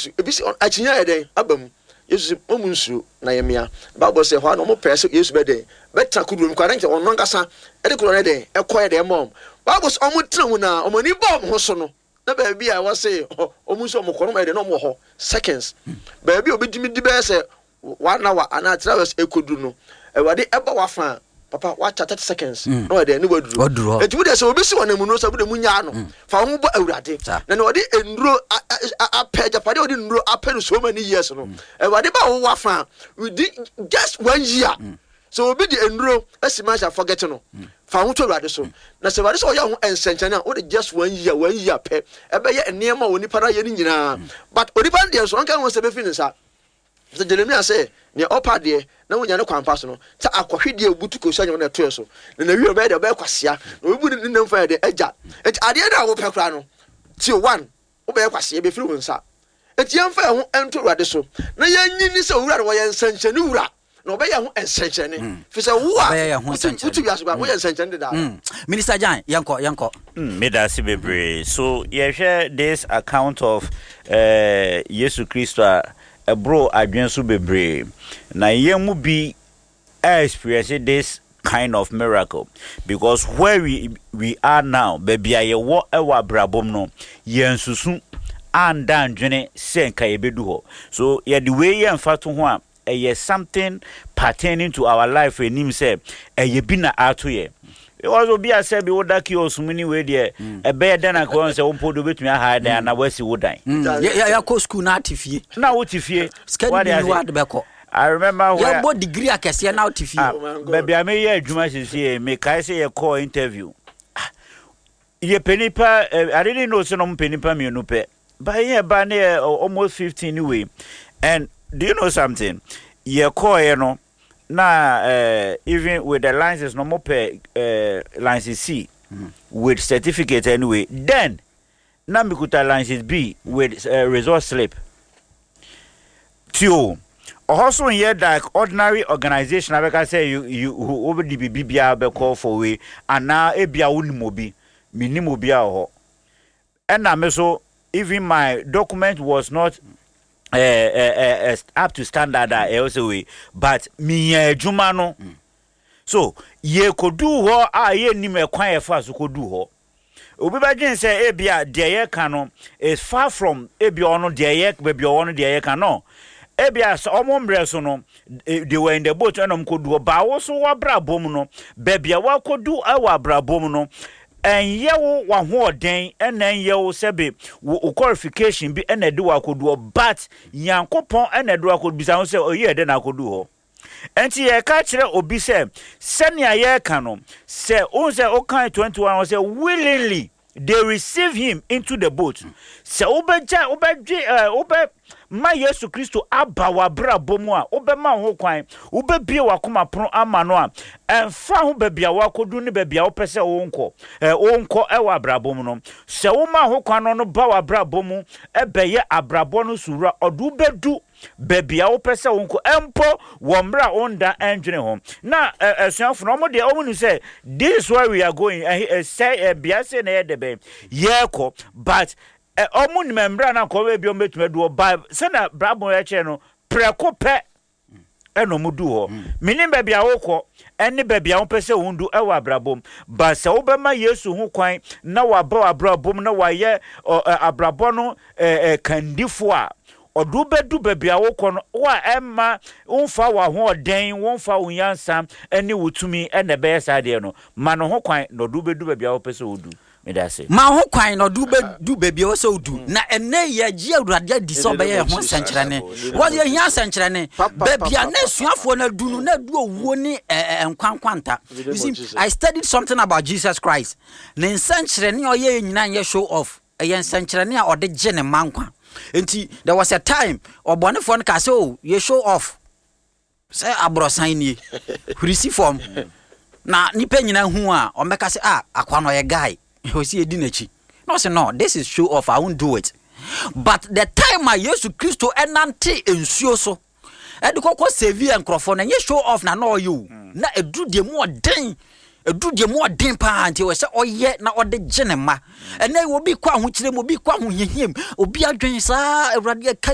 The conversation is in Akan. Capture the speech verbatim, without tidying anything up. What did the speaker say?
Yesu ebi sɛ akyinya yɛ dɛn aba mu. Yesu sɛ ɔmu nsuo na yɛ mmea. Bible sɛ hɔ a na ɔmo pɛɛ sɛ Yesu bɛ dɛn bɛtena kodoɔ mu kɔ adan kyerɛ ɔno ankasa ɛde kodoɔ no dɛn ɛkɔ yɛ dɛn mɔ ɔmo. Bible sɛ ɔmo tena mu na ɔmo ani bɔ ɔmo ho so no, na baabi a ɛwɔ sɛ ɔmo nso ɔmo kɔ no, ɔmo yɛ dɛn na ɔmo wɔ hɔ seconds. Baabi a obi tumi di bɛyɛ sɛ one hour anaa three hours ekodu no, Awurade ɛbɔ wafa a, papa, wakyɛ thirty seconds na ɔyɛ dɛn ne waduru. Waduru hɔ. Eti mu deɛ, sɛ obi si wɔn nnuro sɛ mo de mu nyaa no, fa wɔn bɔ Awurade. Saa. Na na ɔde nnuro a- a- a- apɛ agyapadeɛ a ɔde nnuro apɛ no so many years no, Awurade ba wo wafa a, within just one year, sɛ obi de nnuro asi manhyɛ, forget no, fa ho to Awurade so. Na sɛ Awurade sɛ ɔyɛ ho nsɛnkyɛnne a, wode just one year, one year pɛ ɛbɛyɛ nneɛma a onipa no ayɛ no nyinaa. But onipa no deɛ nso, ɔnka ho sɛ bɛfiri ne nsa sɛ Jeremia sɛ nea ɔpa adeɛ na wonya ne kwan pa so no, sɛ akɔhwe deɛ obutu kosua nyɛ na ɛtoɛ so na nawie, ɔbɛyɛ deɛ ɔbɛyɛ kwasea na obibu ne nam fa yɛ deɛ agya. Nti adeɛ no a wopɛ koraa no, tio one, wobɛyɛ kwasea, bɛfiri wo nsa. Nti yɛmfa yɛn ho nto Awurade so na yɛnyi ni sɛ owura no wɔyɛ nsɛnkyerɛnne wura na ɔbɛyɛ ho nsɛnkyerɛnne, fi sɛ wo a Ɔbɛyɛ yɛn ho wote nsɛnkyerɛnne. Wote wiase koraa, woyɛ nsɛnkyerɛnne dedaa. Mm. Minister Jan, yɛnkɔ, yɛnkɔ. Mm, meda ase bebree. So yɛhwɛ this account of uh, Yesu Kristo a, ɛboro adwene so bebree, na yɛn mu bi experience this kind of miracle, because where we we are now, baabi a yɛwɔ ɛwɔ abrabɔ mu no, yɛn susu anda ndwene sɛ nka yɛbɛdu hɔ. So yɛde wei yɛ mfa to ho a, ɛyɛ something pertaining to our life anim sɛ ɛyɛ bi na ato yɛ, because obi a sɛ bi woda kiosk mu ni, wei deɛ ɛbɛyɛ dɛn na kɔn sɛ wo mpo de wobɛtumi aha dan anaa woasi wo dan? Mm. Yɛ- yɛ- yɛkɔ school na ate fie. Na wote fie. Sika Wade ni bi ase? ni wade bɛkɔ. I remember where Yɛbɔ degree akɛseɛ na wote fie. Ah, Oh my God. baabi a meyɛ adwuma siesie, mekae sɛ yɛkɔɔ interview. Ah, yɛpɛ nipa eh, I didn't know sɛ na ɔmo pɛ nipa mmienu pɛ, but yɛn ba ne yɛ uh, almost fifteen anyway. And do you know something? Yɛkɔɔɛ no na uh, even with the license no, ɔmo pɛ uh, license C with certificate anyway. Then na mikuta license B with uh, result slip tio. Ɔhɔ so nyɛ like ordinary organisation abɛka sɛ you you wobɛde biribi biara bɛkɔ for wei anaa ebia wonim obi. Menim obi a wɔ hɔ, ɛna me so even my document was not uh, uh, uh, up to standard a ɛwɔ sɛ wei, but menya adwuma no. So yɛkɔduu hɔ a, yɛnnim ɛkwan yɛfa so kɔduu hɔ. Obi bɛdwen sɛ ebia deɛ yɛka no is far from ebia ɔno deɛ yɛ baabi a ɔwɔ no deɛ yɛka no. Ebia sɛ ɔmo mmerɛ so no, eh, they were in the boat ɛna ɔmo kɔdu hɔ. Baawo so wabrabɔ mu no, baabi a wakɔdu ɛwɔ abrabɔ mu no, ɛnyɛ wo w'ahoɔden, ɛna ɛnyɛ wo sɛbe wo wo qualification bi ɛna ɛde wakɔdu hɔ, but Nyankopɔn ɛna ɛde wakɔdu. Bisa ho sɛ ɔyi ɛdɛ na akɔdu hɔ. Nti yɛka kyerɛ obi sɛ sɛnea yɛreka no sɛ wohu sɛ wokan twenty-one wɔ sɛ willingly they receive him into the boat. Sɛ wobɛgya, wobɛdwe ɛɛ wobɛ ma Yesu Kristo aba w'abrabɔ mu a, wobɛma wo ho kwan, wobɛbie w'akoma pono ama no a, ɛmfa ho baabi a wakɔdu ne baabi a wopɛ sɛ wonkɔ ɛɛ wonkɔ ɛwɔ abrabɔ mu no, sɛ woma ho kwan no no ba w'abrabɔ mu ɛbɛyɛ abrabɔ no so wura, ɔde wobɛdu baabi a wopɛ sɛ wonkɔ mpo wɔ mmerɛ a wonda ɛndwene ho. Na ɛ asuafo no, ɔmo deɛ, ɔmo nim sɛ this is where we are going. Ɛhe ɛsɛ ɛbea sɛ na ɛyɛ dɛ bɛn yɛrekɔ, but ɛ ɔmo nim mmerɛ a na nkɔmɔ bi ɔmo bɛtumi adu hɔ ba sɛnɛ brabɔ yɛkyerɛ no prɛko pɛ ɛna ɔmo du hɔ. Menim baabi a wokɔ ɛne baabi a wopɛ sɛ wondu ɛwɔ abrabɔ mu, ba sɛ wobɛma Yesu ho kwan na waba w'abrabɔ mu na wayɛ ɔ ɛ abrabɔ no ɛ ɛ kandifo a, ɔde wobɛdu baabi a wokɔ no wo a ɛmma womfa w'ahoɔden, womfa wo nyansa ne wo tumi ɛna ɛbɛyɛ saa deɛ no. Ma no ho kwan na ɔde wobɛdu baabi a wopɛ sɛ wodu. Meda ase. Ma ho kwan na ɔde wobɛdu baabi a ɛwɔ sɛ wodu. Na ɛnɛ yɛgye Awurade adi sɛ ɔbɛyɛ yɛn ho nsɛnkyerɛnne. Wɔ yɛhia nsɛnkyerɛnne. Baabi a na asuafoɔ no adu no, na adu owuo ne ɛ, ɛ, nkwa nkwanta. You see, I studied something about Jesus Christ. Ne nsɛnkyerɛnne a ɔyɛ nyinaa nyɛ show off, ɛyɛ nsɛnkyerɛnne a ɔde gye ne mma nkwa. Nti there was a time ɔbɔnefoɔ no kaa sɛ, "O, yɛ show off sɛ aborɔsan nie, hurisi fam na nipa nyinaa hu a, ɔmbɛka sɛ, 'Ah, akwa no ɔyɛ guy, ɔsi edi n'akyi.' Na ɔsɛ, 'No, this is show off, I won't do it.' But the time a Yesu Kristo ɛnante nsuo so ɛde kɔkɔ save nkurɔfoɔ no, ɛnyɛ show off na na ɔyɛ o. Na ɛduru deɛ mu ɔden, ɛduru deɛ mu ɔden paa, nti wɔ sɛ ɔyɛ na ɔde gye ne mma. Ɛnɛ obi kɔ ahokyerɛ mu, obi kɔ ahohiahia mu, obi adwen saa Awurade ɛka.